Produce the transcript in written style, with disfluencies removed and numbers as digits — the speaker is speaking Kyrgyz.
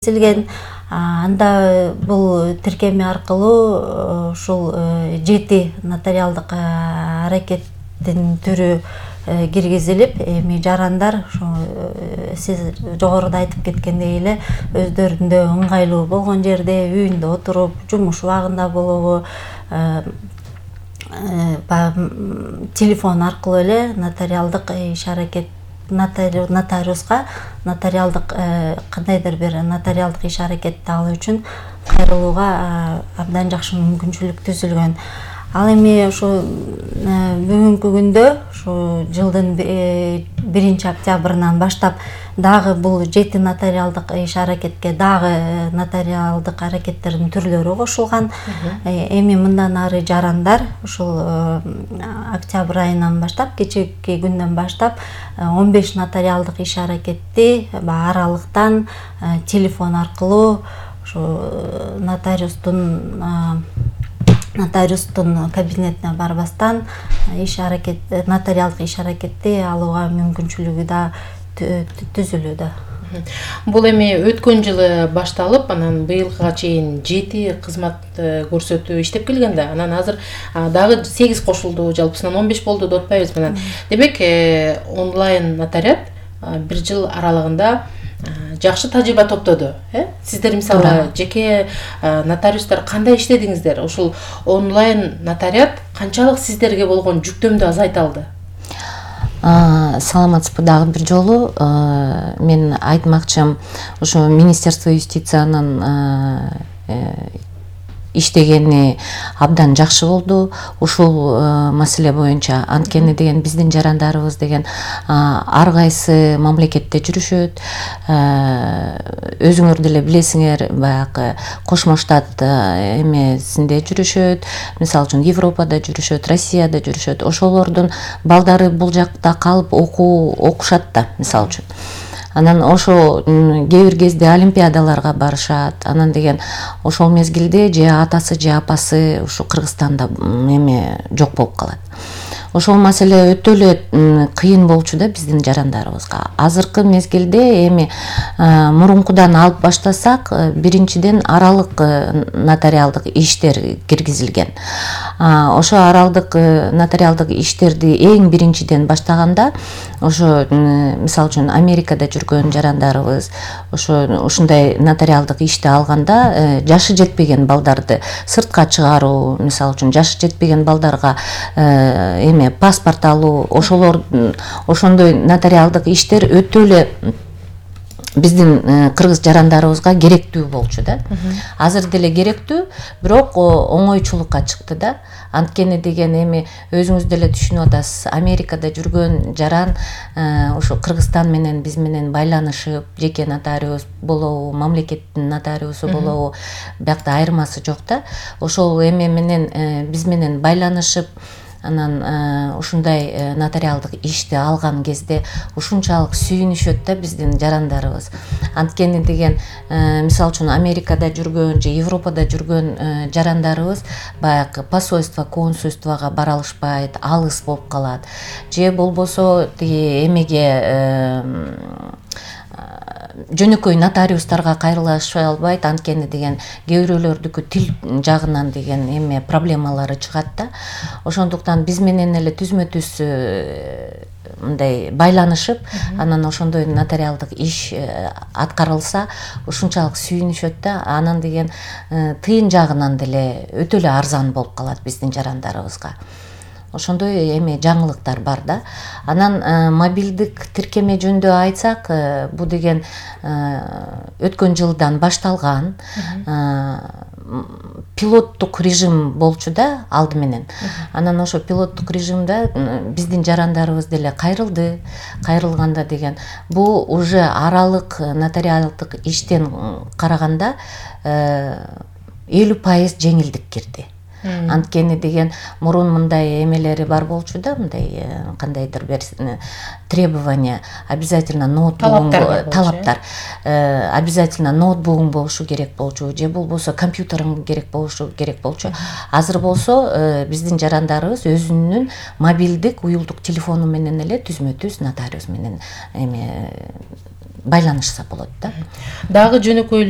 киргизилген. Анда бул тиркеме аркылуу ушул 7 нотариалдык аракеттин түрү киргизилип, эми жарандар сиз жогоруда айтып кеткендей эле өздөрүндө ыңгайлуу болгон жерде, үйүндө отуруп, жумуш убагында болобу, телефон аркылуу эле нотариалдык иш-аракет нотариуска нотариалдык кандайдыр бир нотариалдык иш-аракетти алуу үчүн кайрылууга абдан жакшы мүмкүнчүлүк түзүлгөн. Ал эми ушу бүгүнкү күндө ушу жылдын 1 октябрынан баштап дагы бул 7 нотариалдык иш-аракетке дагы нотариалдык аракеттердин түрлөрү кошулган. Эми мындан ары жарандар ушул октябрь айынан баштап, кечээки күндөн баштап 15 нотариалдык иш-аракетти аралыктан телефон аркылуу ушу нотариустун кабинетине барбастан нотариалдык иш-аракетти алууга мүмкүнчүлүгү да түзүлүүдө. Бул эми өткөн жылы башталып, анан быйылга чейин 7 кызмат көрсөтүү иштеп келген да. Анан азыр дагы 8 кошулду, жалпысынан 15 болду деп атпайбыз менен. Демек, онлайн нотариат 1 жыл аралыгында жакшы тажрыйба топтоду. Сиздер мисалы жеке нотариустар кандай иштедиңиздер? Ушул онлайн нотариат канчалык сиздерге болгон жүктөмдү азайта алды? Саламатсызбы дагы бир жолу. Мен айтмакчым, ушу Министерство юстициянын иштегени абдан жакшы болду. Ушул маселе боюнча анткени деген биздин жарандарыбыз деген ар кайсы мамлекетте жүрүшөт. Өзүңөр деле билесиңер, баягы Кошмо Штат эмесинде жүрүшөт. Мисалы үчүн Европада жүрүшөт, Россияда жүрүшөт. Ошолордун балдары бул жакта калып окушат да, мисалы үчүн. Анан ошо кээ бир кезде олимпиадаларга барышат. Анан деген ошол мезгилде же атасы же апасы ушу Кыргызстанда жок болуп калат. Ошол маселе өтө эле кыйын болчу да биздин жарандарыбызга. Азыркы мезгилде эми мурункудан алып баштасак, биринчиден аралык нотариалдык иштер киргизилген. Ошо аралык нотариалдык иштерди эң биринчиден баштаганда, ошо мисалы үчүн Америкада жүргөн жарандарыбыз ушундай нотариалдык ишти алганда, жашы жетпеген балдарды сыртка чыгаруу, мисалы үчүн жашы жетпеген балдарга паспорт алуу, ошондой нотариалдык иштер өтө эле биздин кыргыз жарандарыбызга керектүү болчу да. Азыр деле керектүү, бирок оңойчулукка чыкты да. Анткени деген эми өзүңүз деле түшүнүп атасыз, Америкада жүргөн жаран ошо Кыргызстан менен биз менен байланышып, жеке нотариус болобу, мамлекеттин нотариусу болобу, биякта айырмасы жок да. Ошол эме менен биз менен байланышып, анан ушундай нотариалдык ишти алган кезде ушунчалык сүйүнүшөт да биздин жарандарыбыз. Анткени деген мисалы үчүн Америкада жүргөн же Европада жүргөн жарандарыбыз баягы посольство, консульствого бара алышпайт, алыс болуп калат. Же болбосо тиги эмеге жөнөкөй нотариустарга кайрылышпай албайт, анткени деген кээ бирөөлөрдүкү тил жагынан деген проблемалары чыгат да. Ошондуктан биз менен эле түзмө-түз мындай байланышып, анан ошондой нотариалдык иш аткарылса ушунчалык сүйүнүшөт да. Анан деген тыйын жагынан деле өтө эле арзан болуп калат биздин жарандарыбызга. Ошондой жаңылыктар бар да. Анан мобилдик тиркеме жөнүндө айтсак, бул деген өткөн жылдан башталган пилоттук режим болчу да алды менен. Анан ошо пилоттук режимде биздин жарандарыбыз деле кайрылганда деген бул уже аралык нотариалдык иштен караганда 50% жеңилдик кирди. Анткени деген мурун мындай эмелери бар болчу да, мындай кандайдыр бир требования, обязательно ноутбугуң, талаптар, обязательно ноутбугуң болушу керек болчу, же болбосо компьютериң керек болчу. Азыр болсо биздин жарандарыбыз өзүнүн мобилдик уюлдук телефону менен эле түзмө-түз нотариус менен байланышса болот да. Дагы жөнөкөй эле